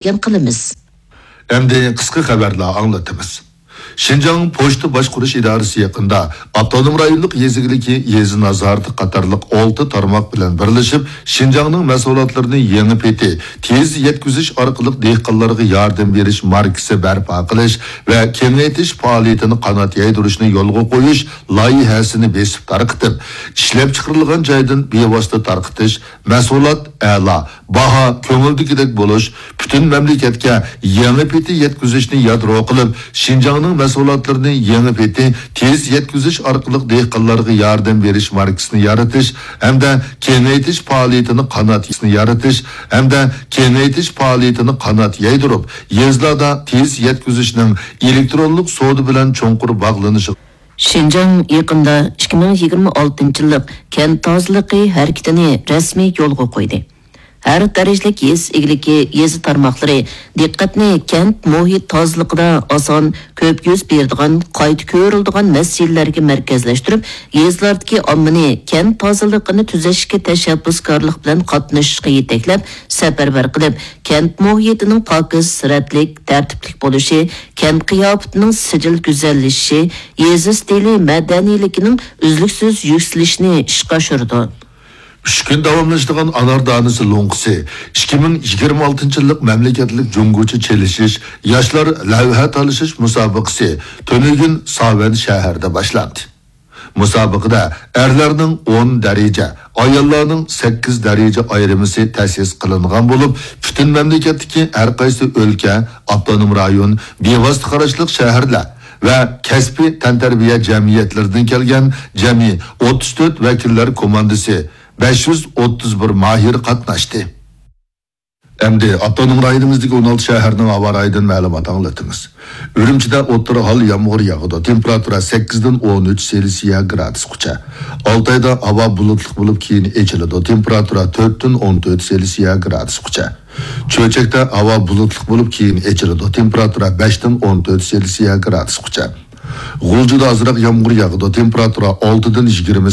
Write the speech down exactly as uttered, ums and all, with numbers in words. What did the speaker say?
بەيان قىلىمىز. ئەمدى قىسقا خەۋەرلەر ئاڭلىتىمىز. شىنجاڭ پوچتا باشقۇرۇش ئىدارىسى يېقىندا ئاپتونوم رايونلۇق يېزا ئىگىلىكى، يېزا نازارىتى قاتارلىق ئالتە تارماق بىلەن بىرلىشىپ، شىنجاڭنىڭ مەھسۇلاتلىرىنى يېڭى پېتى تېز يەتكۈزۈش ئارقىلىق دېھقانلارغا ياردەم بېرىش ماركىسى بەرپا قىلىش ۋە كېڭەيتىش پائالىيىتىنى قانات يايدۇرۇشنى يولغا قويۇش لايىھەسىنى بېسىپ تارقىتىپ، ئىشلەپچىقىرىلغان جايدىن بىۋاسىتە تارقىتىش، مەھسۇلات ئەلا، باھا كۆڭۈلدىكىدەك بولۇش، پۈتۈن مەملىكەتكە يېڭى پېتى يەتكۈزۈشنى يادرو قىلىپ، شىنجاڭنىڭ مەھسۇلاتلىرىنى يېڭى پېتى تېز يەتكۈزۈش ئارقىلىق دېھقانلارغا ياردەم بېرىش ماركىسىنى يارىتىش ھەمدە كېڭەيتىش پائالىيىتىنى قانات يايدۇرۇپ، يېزىلاردا تېز يەتكۈزۈشنىڭ ئېلېكترونلۇق سودا بىلەن چوڭقۇر باغلىنىشى شىنجاڭ يېقىندا ئىككى مىڭ يىگىرمە ئالتىنچى يىللىق كەنت تازىلىقى ھەرىكىتىنى رەسمىي يولغا قويدى. ھەر دەرىجىلىك يېزا ئىگىلىكى، يېزا تارماقلىرى دىققەتنى كەنت مۇھىت تازىلىقىدا ئاسان كۆپ يۈز بېرىدىغان، قايتا كۆرۈلىدىغان مەسىلىلەرگە مەركەزلەشتۈرۈپ، يېزىلاردىكى ئاممىنى كەنت تازىلىقىنى تۈزەشكە تەشەببۇسكارلىق بىلەن قاتنىشىشقا يېتەكلەپ، سەپەرۋەر قىلىپ، كەنت مۇھىتىنىڭ پاكىز، رەتلىك، تەرتىپلىك بولۇشى، كەنت قىياپىتىنىڭ سىجىل گۈزەللىشىشى، يېزا ئىستىلى مەدەنىيلىكىنىڭ ئۈزلۈكسىز يۈكسىلىشىنى ئىشقا ئاشۇرىدۇ. ئۈچ كۈن داۋاملىشىدىغان ئانار دانىسى لوڭقىسى ئىككى مىڭ يىگىرمە ئالتىنچى يىللىق مەملىكەتلىك جۇڭگوچە چېلىشىش ياشلار لەۋھە تالىشىش مۇسابىقىسى تۈنۈگۈن ساۋەن شەھىرىدە باشلاندى. مۇسابىقىدە ئەرلەرنىڭ ئون دەرىجە، ئاياللارنىڭ سەككىز دەرىجە ئايرىمىسى تەسىس قىلىنغان بولۇپ، پۈتۈن مەملىكەتتىكى ھەر قايسى ئۆلكە، ئاپتونوم رايون، بىۋاسىتە قاراشلىق شەھەرلەر ۋە كەسپىي تەنتەربىيە جەمئىيەتلىرىدىن كەلگەن جەمئىي ئوتتۇز تۆت ۋەكىللەر كوماندىسى، بەش يۈز ئوتتۇز بىر ماھىر قاتناشتى. ئەمدى ئاپتونوم رايونىمىزدىكى ئون ئالتە شەھەرنىڭ ھاۋا رايىدىن مەلۇمات ئاڭلىتىمىز. ئۈرۈمچىدە ئوتتۇرا ھال يامغۇر ياغىدۇ. تېمپېراتۇرا سەككىزدىن ئون ئۈچ سېلسىيە گرادۇسقىچە. ئالتايدا ھاۋا بۇلۇتلۇق بولۇپ، كېيىن ئېچىلىدۇ. تېمپېراتۇرا تۆتتىن ئون تۆت سېلسىيە گرادۇسقىچە. چۆچەكتە ھاۋا بۇلۇتلۇق بولۇپ، كېيىن ئېچىلىدۇ. تېمپېراتۇرا بەشتىن ئون تۆت سېلسىيە گرادۇسقىچە. غۇلجىدا ئازراق يامغۇر ياغىدۇ. تېمپېراتۇرا ئالتىدىن يىگىرمە